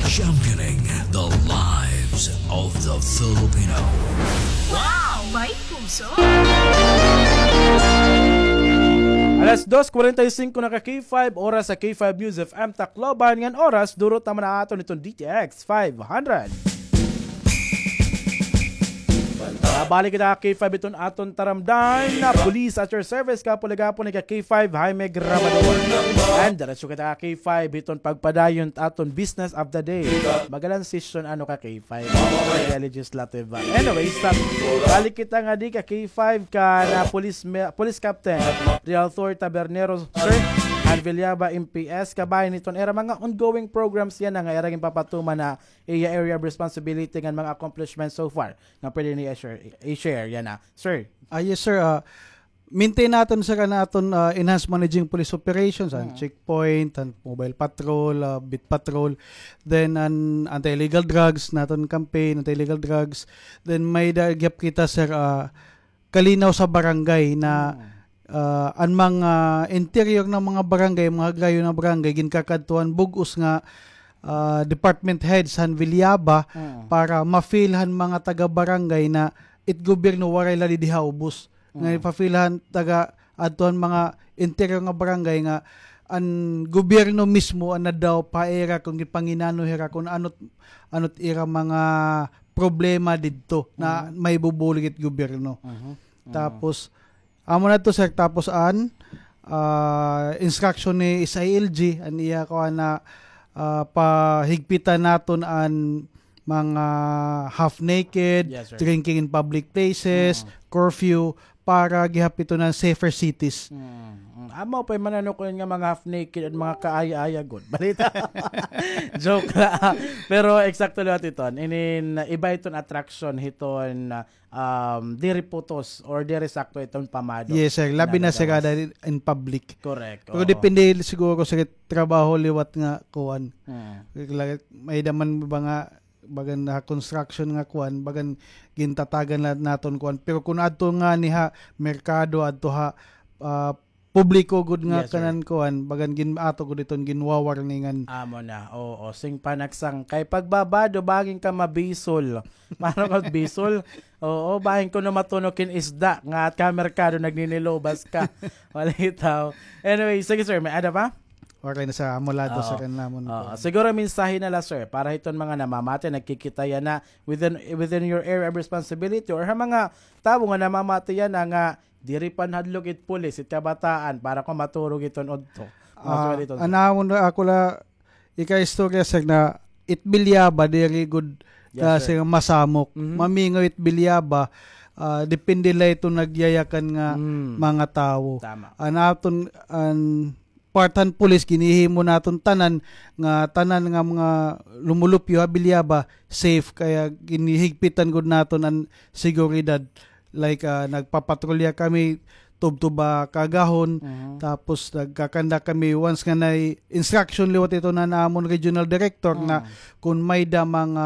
championing the lives of the Filipino. Wow! May puso! Alas dos kwarenta y singko na ka K five, oras sa K five News F M Tacloban. Ngan oras, durot naman na aton iton D T X five hundred. Mabalik kita ka K five iton aton taramdan na Police at your service, kapuligapon ni ka K five, Jaime Grabador. And diretso kita ka K five iton pagpadayon ta aton business of the day. Magalan session ano ka K five. Kaya legislative ba? Anyway, stop. Balik kita nga di ka K five ka na police, me- police captain, Realthor Tabernero, sir, and Villaba M P S, kabahin iton era mga ongoing programs yana nga era ginpapatuman na iya area of responsibility ngan mga accomplishments so far nga pwede niya i-share, i-share yana, sir. Ah, yes, sir. Ah, maintain naton, sir, an aton, ah, enhanced managing police operations, an checkpoint, an mobile patrol, ah, beat patrol, then an anti-illegal drugs, naton campaign, anti-illegal drugs. Then may-ada gihap kita, sir, ah, kalinaw sa barangay na, ah, an mga interior nga mga barangay, mga gayo nga barangay, ginkakadtuan bug-os nga, ah, department heads han Villaba para ma-feel han mga taga-barangay na it gobyerno waray la didi ha ubos. Nga ipa-feel han taga adto han mga interior nga barangay nga an gobyerno mismo an nadaw pa ira kon gipanginano hira kon ano't, ano't ira mga problema didto na mahibubulig it gobyerno. Tapos, amo na to, sir. Tapos an, ah, instruction ni S I L G, an iya kuan na, ah, pahigpitan naton an mga half naked, drinking in public places, curfew, para gihap iton an safer cities. Mm, mm. Amo pa'y mananukon nga mga half naked an mga kaaya-aya gud. Balita. Joke la. Pero eksakto liwat iton. Inin iba iton attraction hiton, um, diri putos or diri sakto iton pamado. Yes, sir. Labi na, sir, kada in public. Correct. Pero depende siguro sa trabaho liwat nga kuan. May-ada man ba nga bagan ha construction nga kuan, bagan gintatagan la naton kuan. Pero kon adto ngani ha merkado, adto ha, ah, publiko gud nga kanan kuan, bagan gin-, ato gud iton ginwa-warningan. Amo na, oo. Sing panagsang kay pagbabado, bangin ka mabisol. Paano ka bisol? Oo, bangin kuno matunok hin isda nga at ka merkado nagninilubas ka. Walay tawo. Anyway, sige, sir, may-ada pa? Okay na sa amo la, sir, an amon. Oo. Siguro mensahe na la, sir, para hiton mga namamati, nagkikita yana within, within your area of responsibility or ha mga tawo nga namamati yana nga diri panhadlok it pulis, it kabataan, para kon maturog iton udto. Ah, an amon la, ako la ikaistorya, sir, na it Villaba diri gud kasi masamok. Mamingaw it Villaba, ah, depende la iton nagyayakan nga mga tawo. Tama. An aton, an part han pulis, ginhihimo naton tanan nga, tanan nga mga lumulupyo ha Villaba, safe, kaya ginhihigpitan gud naton an seguridad. Like, ah, nagpapatrolya kami tubtob ha kaagahon, tapos nagkakanda kami once nga naay instruction liwat ito na amon regional director nga kun may-ada mga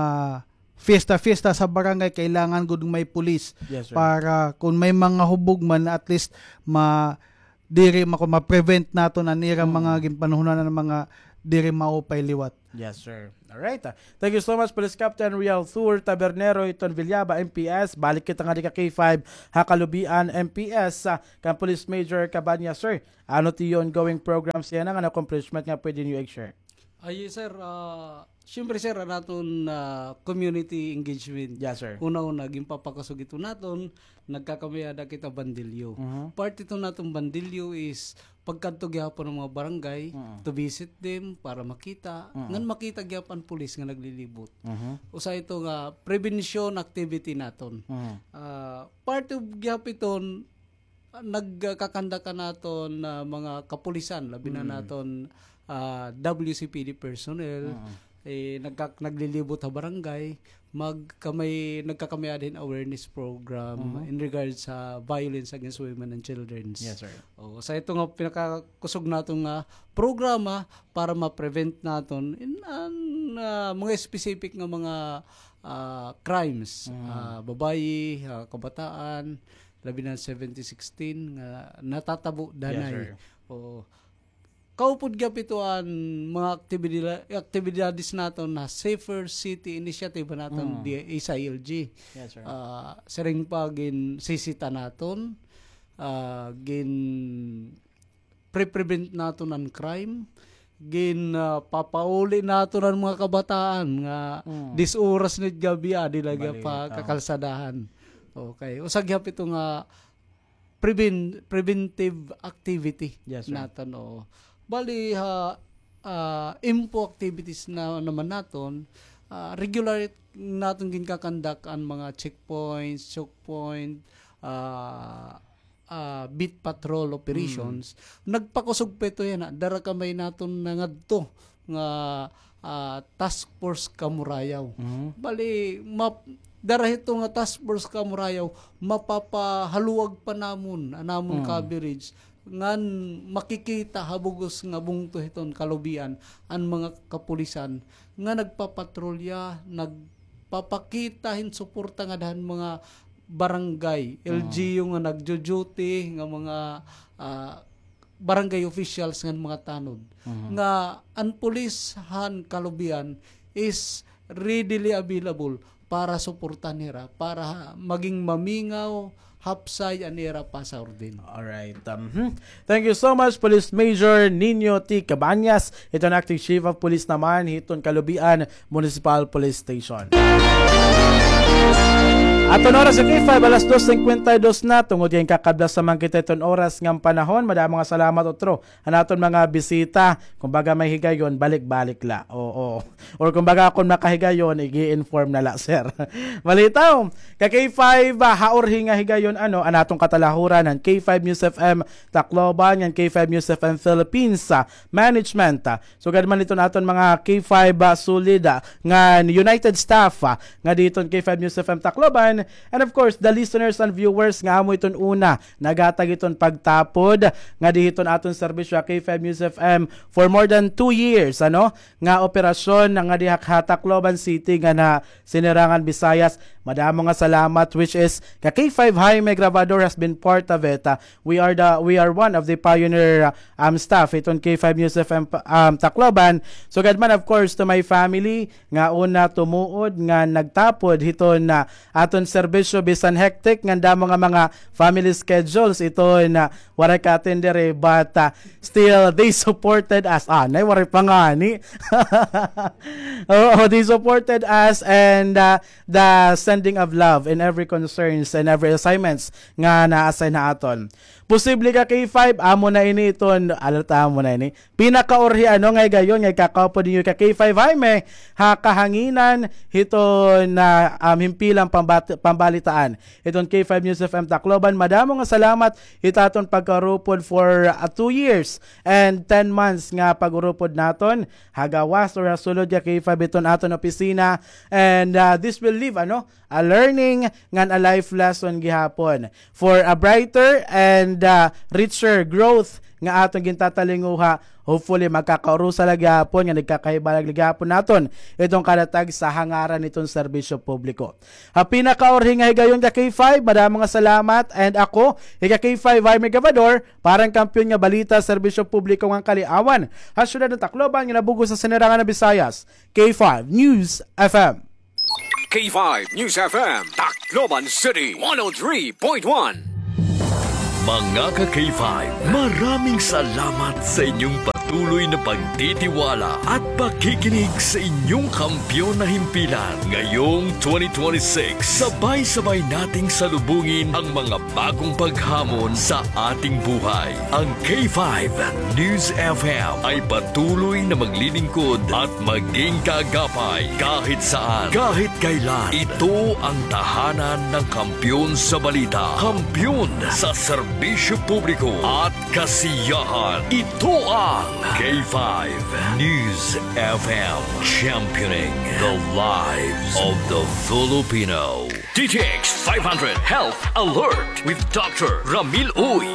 fiesta-fiesta sa barangay, kailangan gud may pulis para kun may mga hubog man, at least ma-, diri ma-, ma-prevent naton an ira mga ginpanhunanan nga mga diri maupay liwat. Yes, sir. All right. Ah, thank you so much, Police Captain Rialthur Tabernero hiton Villaba M P S. Balik kita ngadi ka K five ha Calubian M P S, ah, kan Police Major Cabañas, sir. Ano it iyo ongoing programs yana ngan accomplishment nga pwede niyo i-share? Ay, sir, ah, siyempre, sir, an aton, ah, community engagement. Yes, sir. Una-una, ginpapakusog ito naton, nagkakamay-ada kita bandilyo. Part ito naton bandilyo is pagkadto gihapon han mga barangay to visit them para makita. Ngan makita gihapon an pulis nga naglilibot. Usa ito nga prevention activity naton. Ah, part of gihapon iton, ah, nagkakandak an aton, ah, mga kapulisan, labi na naton, ah, W C P D personnel, eh, nagka-, naglilibot ha barangay, magkamay-, nagkakamay-ada hin awareness program in regards sa violence against women and childrens. Yes, sir. O, sa ito nga pinakakusog naton nga programa para ma-prevent naton in an, ah, mga specific nga mga, ah, crimes, ah, babayi, ah, kabataan, labi na seventy sixteen nga natatabo danay. Yes, sir. Oo. Kaupod gihap ito an mga aktibidila-, aktibidades naton na Safer City Initiative naton di sa I L G. Yes, sir. Ah, siring pa ginsisita naton, ah, gin pre-prevent naton an crime, gin, ah, papauli naton an mga kabataan nga dis oras na it gab-i, adi la gihap ha kakalsadahan. Okay. Usa gihap ito nga prevent-, preventive activity naton, oo. Bali, ha, ah, info activities na naman naton, ah, regular naton ginkakandak an mga checkpoints, choke point, ah, ah, beat patrol operations, nagpakusog pa ito yana. Dara kamay naton nangadto nga, ah, task force Kamurayaw. Bali, map-, dara hito nga task force Kamurayaw, mapapahaluag pa namon an amon coverage ngan makikita ha bug-os nga bungto hiton Calubian an mga kapulisan nga nagpapatrolya, nagpapakita hin suporta ngada han mga barangay, L G U nga nagjo-duty, nga mga, ah, barangay officials ngan mga tanod. Nga an pulis han Calubian is readily available para suportahan hira, para maging mamingaw, hapsay an ira pasaurdin. Alright. Um, hmm. Thank you so much, Police Major Nino T Cabañas, hiton Acting Chief of Police naman hiton Calubian Municipal Police Station. Aton oras sa K five, alas dos cincuenta y dos na, tungod kay kakablas naman kita hiton oras ngan panahon, madamo nga salamat utro han aton mga bisita. Kumbaga may higayon, balik-balik la. Oo. Or kumbaga kon makahigayon, ig-i-inform na la, sir. Balitaw, ka K five, ah, ha urhi nga higayon, ano, an aton katalahuran, an K five News F M Tacloban, ngan K five News F M Philippines, ah, management, ah. Sugad man iton aton mga K five, ah, solid, ah, nga united staff, ah, ngadi hiton K five News F M Tacloban, and of course, the listeners and viewers nga amo iton una naghatag hiton pagtapod ngadi hiton aton serbisyo ha K five News F M for more than two years, ano, nga operasyon ngadi ha Tacloban City ngan ha Sinirangan Visayas. Madamo nga salamat, which is ka K five Jaime Grabador has been part of it. Uh, we are the, we are one of the pioneer, uh, um, staff hiton K five News F M, um, Tacloban. Sugad man, of course, to my family, nga una tumuod nga nagtapod hiton, ah, aton serbisyo bisan hectic nga damo nga mga family schedules iton, ah, waray ka-attend diri, but, ah, still they supported us. Ah, nay, waray pa ngani. Oo, they supported us and, ah, the sending of love in every concerns and every assignments nga na-assign ha aton. Posible ka K five, amo na ini iton, alata mo na ini. Pinakaurhi ano nga higayon nga ikakaupod ninyo ka K five Jaime, ha kahanginan hiton, ah, um, himpilang pambat-, pambalitaan. Iton K five News F M Tacloban, madamo nga salamat hit aton pagkaurupod for, ah, two years and ten months nga pag-urupod naton ha gawas or ha sulod nga K five iton aton opisina. And, ah, this will leave, ano, a learning ngan a life lesson gihapon for a brighter and, ah, richer growth nga aton gintatalinguha. Hopefully, magkakaurusa la gihapon nga nagkakahibalag la gihapon naton iton kadatag sa hangaran niton serbisyo publiko. Ha pinakaurhi nga higayon ka K five, madamo nga salamat. And ako, ika K five Jaime Gabador, para han Kampiyon nga Balita, Serbisyo Publiko ngan Kaliawan ha syudad han Tacloban nga nabugo sa Sinirangan na Visayas, K five News F M. K five News F M, Tacloban City, one oh three point one. Mga ka K five, maraming salamat sa inyong patuloy na pagtitiwala at pakikinig sa inyong kampiyon na himpilan. Ngayong twenty twenty-six, sabay-sabay nating salubungin ang mga bagong paghamon sa ating buhay. Ang K five News F M ay patuloy na maglilingkod at maging kaagapay kahit saan, kahit kailan. Ito ang tahanan ng kampiyon sa balita, kampiyon sa serbisyo publiko at kasiyahan. Ito ang K five News F M, championing the lives of the Filipino. D T X five hundred Health Alert with Doctor Ramil Uy.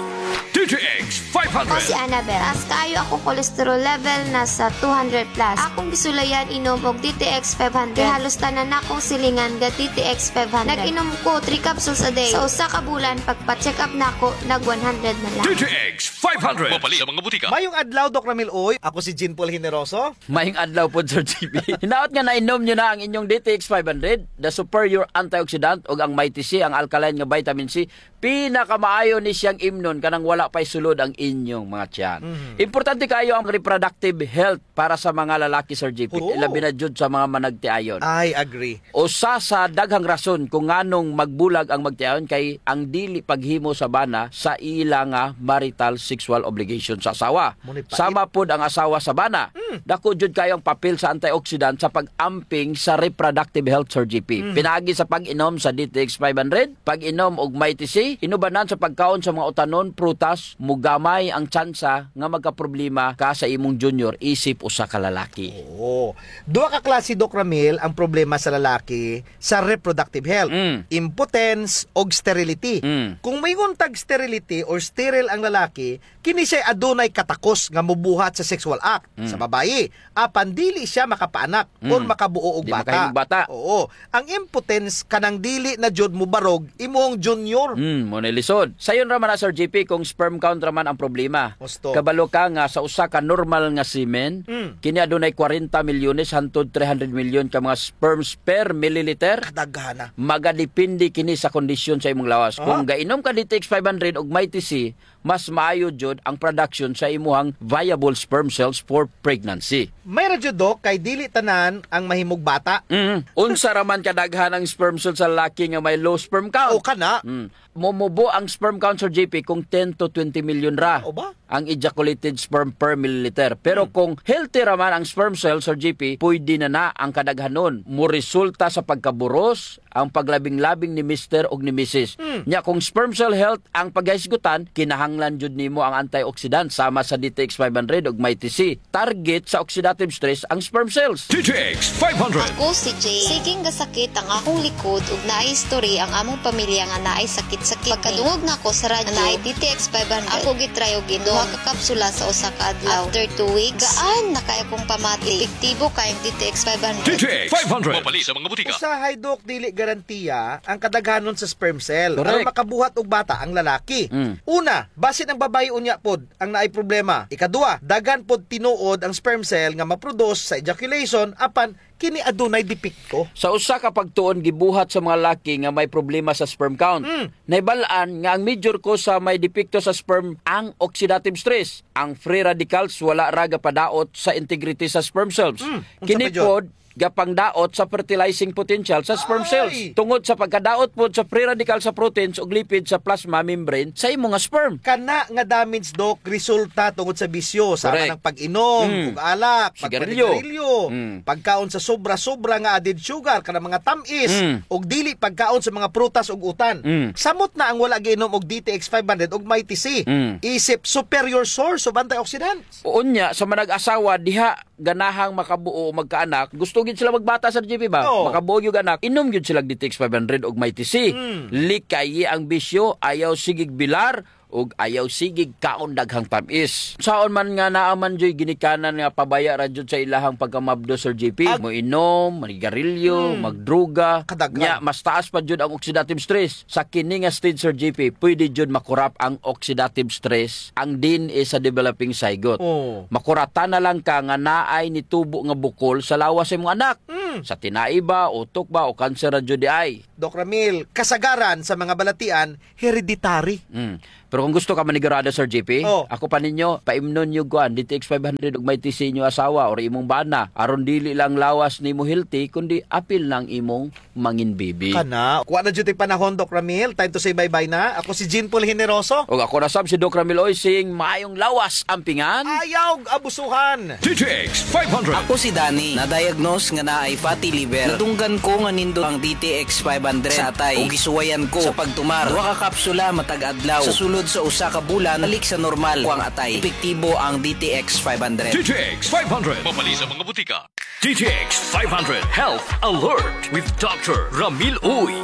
D T X five hundred. Ako si Annabel. Taas kaayo akong cholesterol level, nasa two hundred plus. Akong gisulayan inom og D T X five hundred. Kay halos tanan nakong silingan ga D T X five hundred. Nag-inom ko three capsules a day. Sa usa ka bulan, pagpa-check up nako, nag one hundred na lang. D T X five hundred. Mapalit sa mga butika. Mayong adlaw, Doc Ramil Uy. Ako si Jean Paul Generoso. Mayong adlaw pod, Sir G P. Hinaot nga nainom niyo na ang inyong D T X five hundred, the superior antioxidant, ug ang Mighty C, ang alkaline nga vitamin C. Pinakamaayo ni siyang imnon kanang wala pa'y sulod ang inyong mga tiyan. Mhm. Importante kaayo ang reproductive health para sa mga lalaki, Sir G P. Oo. Labi na jud sa mga managtiayon. I agree. Usa sa daghang rason kung nganong magbulag ang magtiayon kay ang dili paghimo sa bana sa ila nga marital sexual obligation sa asawa. Mao ni pait. Sama pod ang asawa sa bana. Mm. Dako jud kaayo ang papel sa antioxidant sa pag-amping sa reproductive health, Sir G P. Mm. Pinaagi sa pag-inom sa D T X five hundred, pag-inom og Mighty C, inubanan sa pagkaon sa mga utanon, prutas, mogamay ang tsansa nga magkaproblema ka sa imong junior isip usa ka lalaki. Oo. Duha ka klase, Doc Ramil, ang problema sa lalaki sa reproductive health. Mm. Impotence og sterility. Mm. Kung moingon tag sterility or sterile ang lalaki, kini siya adunay katakos nga mobuhat sa sexual act sa babayi. Apan dili siya makapaanak or makabuo og bata. Mm. Di makahimog bata. Oo. Ang impotence kanang dili na jud mobarog imohang junior. Mm, mao na lisod. Sayon ra man na, Sir G P, kung sperm count ra man ang problema. Husto. Kabalo ka nga sa usa ka normal nga semen, mm, kini adunay kwarenta milyones hantod three hundred milyon ka mga sperms per milliliter. Kadaghana. Magadepende kini sa kondisyon sa imong lawas. Aha. Kung gainom ka D T X five hundred ug Mighty C, mas maayo jud ang production sa imuhang viable sperm cells for pregnancy. May ra jud, Doc, kay dili tanan ang mahimog bata. Mm. Unsa ra man kadaghan ang sperm cell sa lalaki nga may low sperm count? O, kana. Mm. Momubo ang sperm count, Sir G P, kung ten to twenty million ra. O ba? Ang ejaculated sperm per milliliter. Pero, hmm, kung healthy ra man ang sperm cell, Sir G P, pwede na na ang kadaghanon. Moresulta sa pagkaburos, ang paglabing-labing ni mister ug ni misis. Hmm. Nya, kung sperm cell health ang paghisgutan, kinahanglan jud nimo ang antioxidant sama sa D T X five hundred ug Mighty C. Target sa oxidative stress ang sperm cells. D T X five hundred. Ako si Jane. Siging gasakit ang akong likod ug naay history ang among pamilya nga naay sakit-sakit. Pagkadungog nako sa radyo, naay D T X five hundred. Ako gitry og inom duha ka kapsula sa usa ka adlaw. After two weeks, gaan na kay akong pamati. Epektibo kay ang D T X five hundred. D T X five hundred. Mapalit sa mga butika. Usahay, Doc, dili garantiya ang kadaghanon sa sperm cell. Correct. Aron makabuhat og bata ang lalaki. Mm. Una, basin ang babayi unya pod ang naay problema. Ikaduha, daghan pod tinuod ang sperm cell nga ma-produce sa ejaculation, apan kini adunay depekto. Sa usa ka pagtuon gibuhat sa mga laki nga may problema sa sperm count. Mm. Nahibal-an nga ang major cause sa may depekto sa sperm ang oxidative stress. Ang free radicals wala ra gapadaot sa integrity sa sperm cells. Mm. Unsa pa jud? Kini pod gapangdaot sa fertilizing potential sa sperm cells. Tungod sa pagkadaot pod sa free radical sa proteins ug lipid sa plasma membrane sa imo nga sperm. Kana nga damage, Doc, resulta tungod sa bisyo, sama Correct. ng pag-inom Mm. ug alak, Sigarilyo. pagpanigarilyo, Mm. pagkaon sa sobra-sobra nga added sugar, kanang mga tamis, Mm. ug dili pagkaon sa mga prutas ug utan. Mm. Samot na ang wala giinom og D T X five hundred ug Mighty C. Mm. Isip superior source of antioxidants. Unya, sa manag-asawa, diha ganahang makabuo o magkaanak, gusto gid sila magbata, Sir J P, ba? Oo. Makabuo gyud anak, inom gyud sila D T X five hundred ug Mighty C. Mm. Likayi ang bisyo, ayaw sigig bilar, ug ayaw sigig kaon daghang tamis. Saon man nga naa man juy ginikanan nga pabaya ra jud sa ilahang pagkamabdos, Sir J P, Ag- moinom, manigarilyo, Mm. magdruga, Kadaghan. nya mas taas pa jud ang oxidative stress. Sa kini nga stage, Sir J P, pwede jud makurap ang oxidative stress, ang D N A sa developing zygote. Oo. Makuratan na lang ka nga naay nitubo nga bukol sa lawas sa imong anak. Mm. Sa tinai ba, utok ba, o kanser ra jud diay? Doc Ramil, kasagaran sa mga balatian, hereditary. Mm. Pero kung gusto ka manigurado, Sir J P, Oh. ako pa ninyo, paimnon niyo kuan, D T X five hundred ug Mighty C inyo asawa or imong bana, aron dili lang lawas nimo healthy, kundi apil na ang imong mangin bibi. Kana, wa na jud tay panahon, Doc Ramil. Time to say bye-bye na. Ako si Jean Paul Generoso. Ug ako na sab si Doc Ramil Oysing, maayong lawas, ampingan. Ayaw abusuhan. D T X five hundred. Ako si Danny. Na-diagnose nga naay fatty liver. Nadunggan ko nga nindot ang D T X five hundred sa atay. Ug gisuwayan ko sa pagtumar. Duha ka kapsula matag adlaw. Sa sulod sa usa ka bulan, balik sa normal ko ang atay. Epektibo ang D T X five hundred. D T X five hundred. Mapalit sa mga butika. D T X five hundred Health Alert with Doctor Ramil Uy.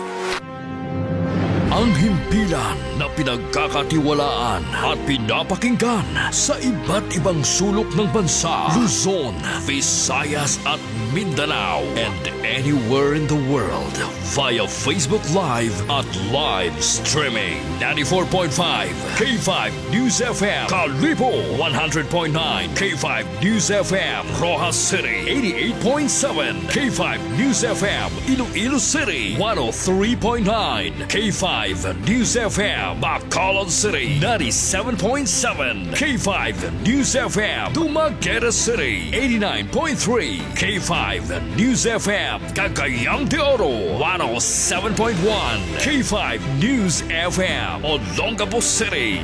Ang himpilan na pinagkakatiwalaan at pinapakinggan sa iba't ibang sulok ng bansa, Luzon, Visayas at Mindanao, and anywhere in the world via Facebook Live at live streaming. Ninety-four point five K five News F M, Kalibo, one hundred point nine K five News F M, Roxas City, eighty-eight point seven K five News F M, Iloilo City, one oh three point nine K five News F M, Bacolod City, ninety-seven point seven K five News F M, Dumaguete City, eighty-nine point three K five News F M, Cagayan de Oro, one oh seven point one K five News F M, Olongapo City.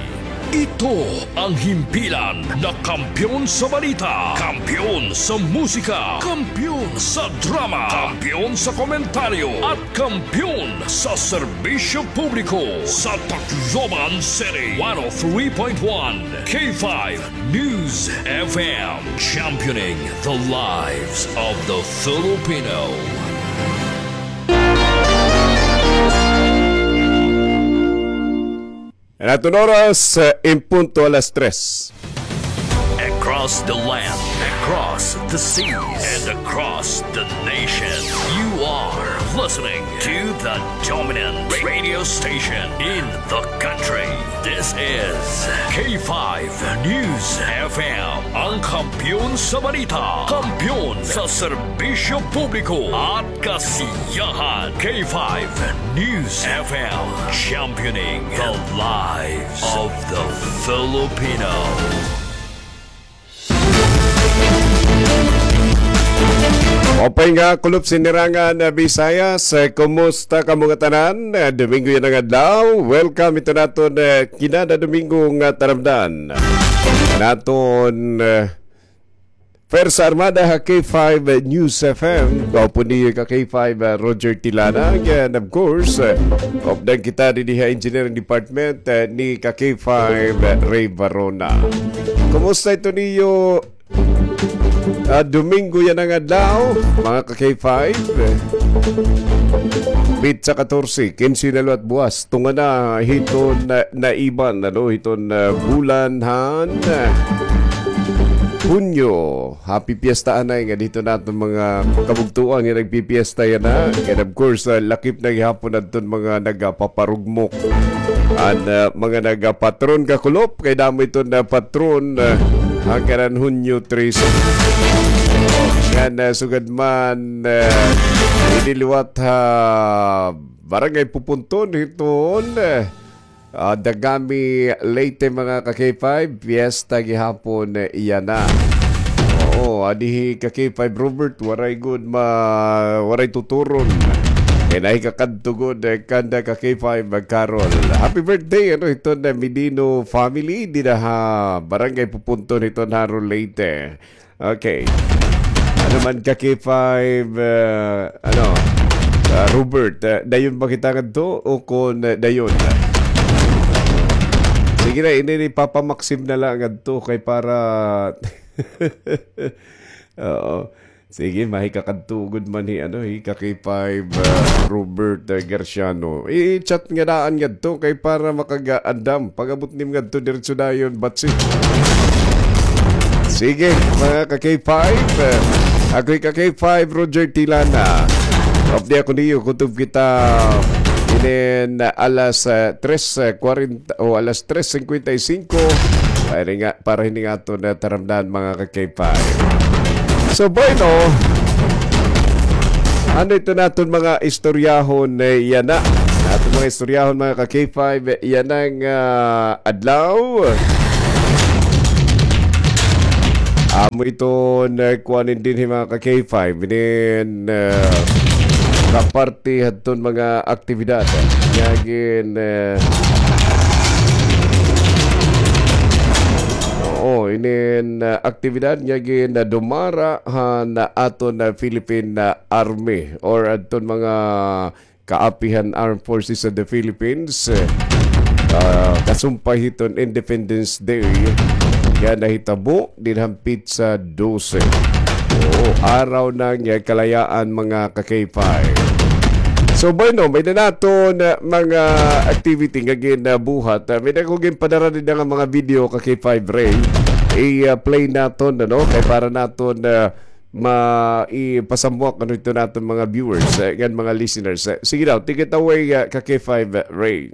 Ito ang himpilan na kampiyon sa balita, kampiyon sa musika, kampiyon sa drama, kampiyon sa komentaryo, at kampiyon sa serbisyo publiko sa Tacloban City. One oh three point one K five News F M, championing the lives of the Filipino. An aton oras, eh, en punto alas tres. Across the land, across the seas, and across the nation, you are listening to the dominant radio station in the country. This is K five News F M, ang kampiyon sa balita, kampiyon sa serbisyo publiko at kasiyahan. K five News F M, championing the lives of the Filipino. Maupay nga kulop, sinirangan, ah, Visayas. Eh, kumusta kamo ngatanan? Eh, Domingo yana nga adlaw. Welcome ito naton, eh, kinada Domingo nga taramdan. Naton, eh, Pwersa Armada ha K five News F M. Gwapo niyo ka K five, ah, Roger Tilana. And of course, eh, updan kita dinhi ha Engineering Department, eh, ni ka K five, eh, Ray Varona. Kumusta ito niyo, ah, Domingo yana nga adlaw, mga ka K five? Pitsa katorse, kinse na liwat buwas. Tunga na hiton, ah, naiban, ano, hiton, ah, bulan han, ah, Hunyo. Happy Fiesta anay nga didto naton mga kabugtoan nga nagpipiesta yana. And of course, ah, lakip na gihapon adton mga nagapaparugmok. An, ah, mga nagapatron kakulop, kay damo iton, ah, patron, ah, hangganan Hunyo trese. Ngan, ah, sugad man, ah, ini liwat ha Barangay Pupunton hiton, ah, Ah, Dagami, Leyte, mga ka K five, piyesta gihapon yana. Oo, adi hi ka K five Robert, waray gud ma-, waray tuturon. Kay nahikakadto gud, eh, kanda ka K five Carol. Happy birthday, ano, hiton, eh, Medino family, dida ha Barangay Pupunton, hiton ha Arroyo, Leyte. Okay. Ano man ka K five, eh, ano, ah, Robert, eh, dayon ba kita ngadto o kon, eh, dayon? Sige na, ini ni Papa Maxim na lang ngadto kay para Oo. Sige, mahikakadto gud man hi, ano, hi ka K five, ah, Robert, ah, Garciano. I-chat nga daan ngadto kay para makagaandam. Pag-abot nim ngadto, diretso dayon, batsi. Sige, mga ka K five, ah, ako hi ka K five, Roger Tilana. Off di ako niyo, kutob kita inin, ah, alas, ah, tres, ah, kwarenta o alas tres singkwenta y singko. Ay, nga, para hini nga aton, ah, taramdan, mga ka K five. So, bueno, ano ito naton mga istoryahon, eh, yana? Aton mga istoryahon, mga ka K five, eh, yana nga adlaw. Amo ito na kuanin din, mga ka K five. Inin, ah, kaparte hadton mga aktibidad nga gin, eh, oo, inin, ah, aktibidad nga gin, ah, dumara han aton, ah, Philippine, ah, Army or adton mga kaapihan Armed Forces of the Philippines, eh, ah, kasumpay hiton Independence Day nga nahitabo dinhan petsa dose. Oo, araw na nga kalayaan, mga ka K five. So, bueno, may na naton, uh, mga activity nga ginabuhat. Uh, may na ko ginpadara din nga mga video ka K five Ray. I-play naton, ano, kay para naton, uh, ma-, ipasamuak, ano, ito naton mga viewers, uh, ngan mga listeners. Uh, sige daw, take it away, uh, ka K five Ray.